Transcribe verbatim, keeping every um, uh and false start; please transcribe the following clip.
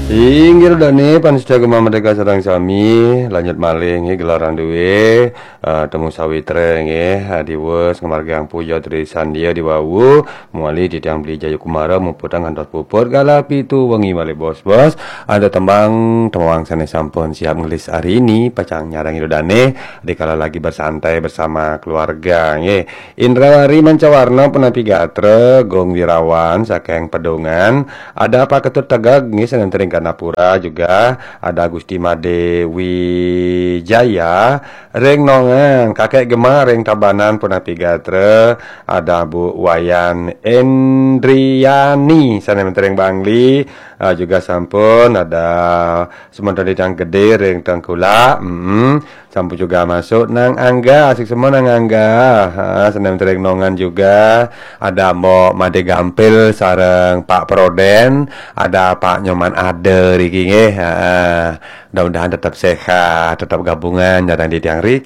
Inggih dane pamiarsa Gema Merdeka sareng sami, lanjut malih nggih gelaran duwe, eh, temu sawitra nggih, eh, diwus ngamargiang puja tri sandia diwawu, mawali titiang Beli Jayakumara muputang ngantos puput galah pitu wengi malih bos-bos, ada tembang tembang sane sampun siap ngelis hari ini, pacang nyarengin dane, dikala lagi bersantai bersama keluarga nggih. Indrawari Mancawarna punapi gatra, Gung Wirawan saking Pedungan, ada Pak Ketut Tegeg nggih saking Gandapura juga, ada Gusti Made Wijaya ring Nongan, Kakek Gema ring Tabanan punapi gatra, ada Bu Wayan Endriani saking Bangli, ah, juga sampun ada semeton titiang Gede ring Tengkulak, mm, sampun juga masuk Nang Angga, asik semua Nang Angga. Ha, saking Nongan juga, ada Mbok Made Gampil sareng Pak Proden, ada Pak Nyoman Ada riki nggih. Ha, mudah-mudahan tetap sehat, tetap gabungan nyarengin titiang ri